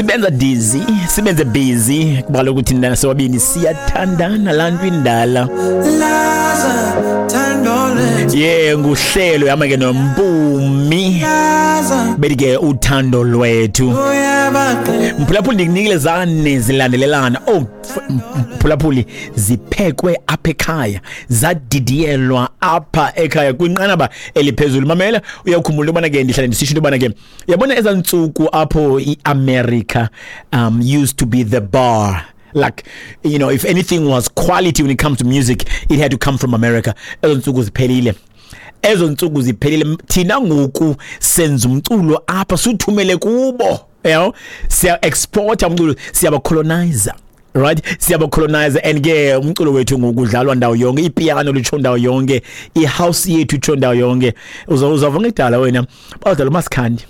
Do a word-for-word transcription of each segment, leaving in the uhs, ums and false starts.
Sibenza dizzy, sibenze busy kuba kaloku thina sobabini siyathandana laa nto indala. Yeah, nguhlelo yama ke noMpumi bethi ke uthando lwethu. Mphulaphuli, ndikunikile zane zilandelelana. Oh, mphulaphuli, ziphekwe apha ekhaya, zadidiyelwa apha ekhaya kwinqanaba eliphezulu. Mamela, uyakhumbula into yobana ke ndihlale ndisitsho into yobana ke uyabona ezaa ntsuku apho iAmerica um used to be the bar. Like, you know, if anything was quality when it comes to music, it had to come from America. Ezo ntsuku ziphelile. Ezo ntsuku ziphelile. Thina ngoku senza umculo apha suthumele kubo. You know, siya exporta umculo, siyabacolonizer. Right, siyabacolonizer and ke umculo wethu ngokudlalwa ndawo yonke, ipiano litsho ndawo yonke, ihouse yethu itsho ndawo yonke. Uzawuva ngekudala wena bawudlala uMasikhandi.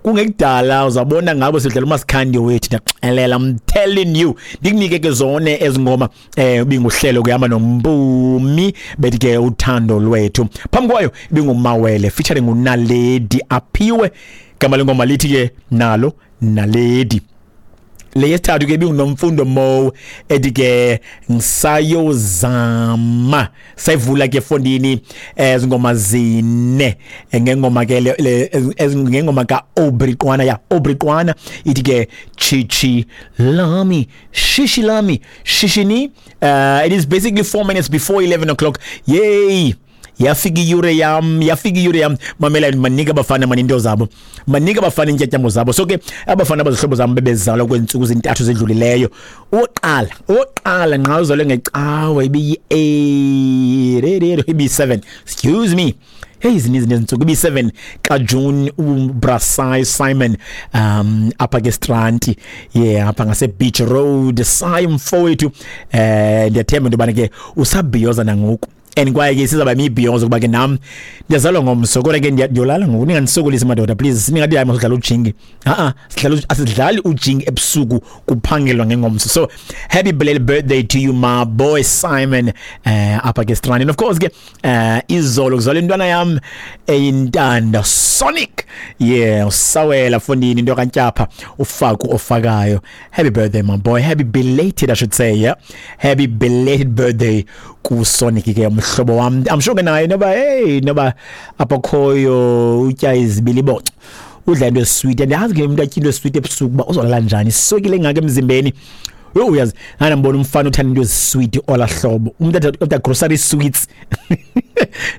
Kungekudala uzabona ngabo sidlala uMasikhandi wethu. Ndiyaxelela, I'm telling you. Ndikunike ke zone ezingoma eh ibinguhlelo kuhamba noMpumi bethi ke uthando lwethu. Phambi kwayo ibingumawele featuring uNaledi Aphiwe, igama lengoma lithi ke nalo Naledi. Le yesithathu ke ibinguNomfundo Mo ethi ke ngisayozama. Sayivula ke fondini ezingoma zine ngengoma ke ngengoma ka Aubrey Qwana, ya Aubrey Qwana ithi ke chichi lami shishi lami shishini. Uh, it is basically four minutes before eleven o'clock. Yay! Yafika iyure yam, yafika iyure yam. Mamela, manika abafana mani into zabo, manika abafana intyatyambo zabo. So ke abafana abazihlobo zam bebezalwa kweentsuku zintathu zedlulileyo. Oqala, oqala nqa uzalwe ngecawe ibiyi-eight, ibiyi-seven, excuse me. Hey, zininzi nezintsuku. Ibiyi-seven kaJune, uBrasai Simon um apha ke Stranti, yeah, apha ngase Beach Road. Sai mfowethu, eh ndiyathemba into yobana ke usabhiyoza nangoku. And kwaye ke sizawuba mibhiyozo kuba ke nam ndiyazalwa ngomso, kodwa ke ndiyolala ngoku. Ningandisokolisi madoda, please. Ningathi hayi masidlala ujingi. Ha-a, sidlala, asidlali ujingi ebusuku, kuphangelwa ngengomso. So happy belated birthday to you, my boy Simon, uh, apha ke Strand. And of course ke uh, izolo kuzalwa intwana yam eyintanda Sonic, yeah, usawela fondini into kaNtyapha ufaku ofakayo. Happy birthday, my boy. Happy belated, I should say. Yeah, happy belated birthday ku Sonic ke mhlobo wam. I'm sure ke naye noba hey noba apha khoyo utya izibiliboco, udla into esweet. Andiyazi ke umuntu atya into esweet ebusuku uba uzolala njani, iswekile engaka emzimbeni. Yho, uyazi andambona umfana uthanda into ezisweet ola hlobo, umuntu athatha grocery sweets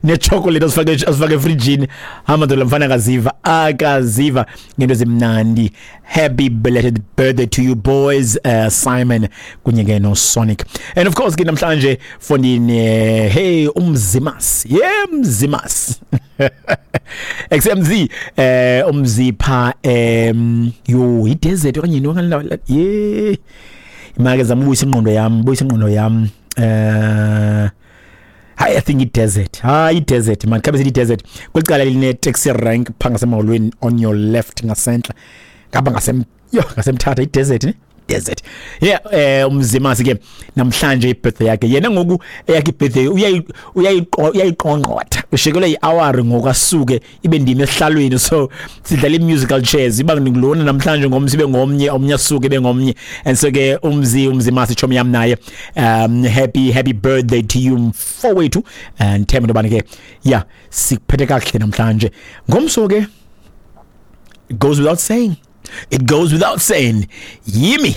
nechocolate azifake azifake efrijini. Hamba lo mfana akaziva akaziva ngento ezimnandi. Happy belated birthday to you boys, uh, Simon kunye ke no Sonic. And of course ke namhlanje fondini, hey, umzimas, yeah, mzimas X M Z, eh umzipha em yo idesert okanye yintoni, yeah, imake zama ubuyisa ingqondo yam, buyisa ingqondo yam. Eh hayi, I think i-desert, hayi i-desert man, khabe sithi i-desert kwelicala line taxi rank pha ngasemholweni on your left ngasentla ngapha ngasem yo ngasemthatha, i-desert ne desert, yeah. Eh umzimasi ke namhlanje ibirthday yakhe yena ngoku, eyakhe ibirthday uyayiqongqotha, ushekelwe i-hour ngoku asuke ibe ndimi esihlalweni. So sidlala i-musical chairs, iba ngilona namhlanje, ngomso ibe ngomnye, omnye asuke ibe ngomnye. And so ke umzi umzimasi chomi yam naye, um happy happy birthday to you mfowethu, and themba into yobana ke yeah sikuphethe kakuhle namhlanje. Ngomso ke, it goes without saying, it goes without saying, yimi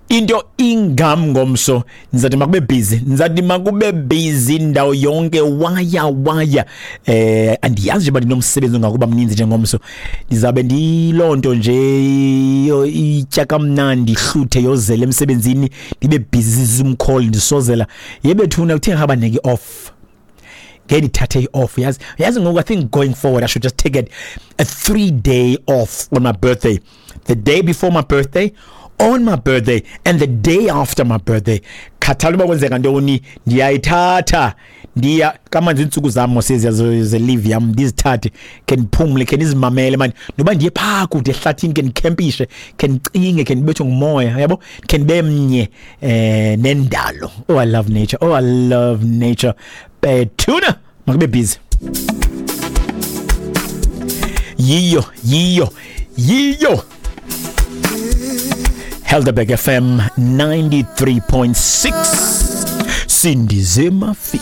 into ingam ngomso. Ndizathi makube busy, ndizathi makube busy ndawo yonke, waya waya. Eh andiyazi nje uba ndinomsebenzi ongakuba mninzi njengomso. Ndizabe ndiyiloo nto nje itya kamnandi, ihluthe yozela emsebenzini, ndibe busy Zoom call ndisozela. Yebethuna kuthe ngaba ndinike off, ngeke ndithathe i-off. Yazi yazi ngoku I think going forward I should just take it a three day off on my birthday, the day before my birthday, on my birthday and the day after my birthday. Khathala uba kwenzeka ntoni, ndiyayithatha ndiya kamanzi iintsuku zam mos ze-leave yam, ndizithathe khe ndiphumle, khe ndizimamele mani, noba ndiye phaa kude ehlathini, khe ndikhempishe, khe ndicinge, khe ndibethwe ngumoya, yabo, khe ndibe mnye eh nendalo. Oh, I love nature. Oh, I love nature. Bethuna makube busy. Yiyo, yiyo, yiyo. Helderberg F M ninety-three point six. Sindize mafi.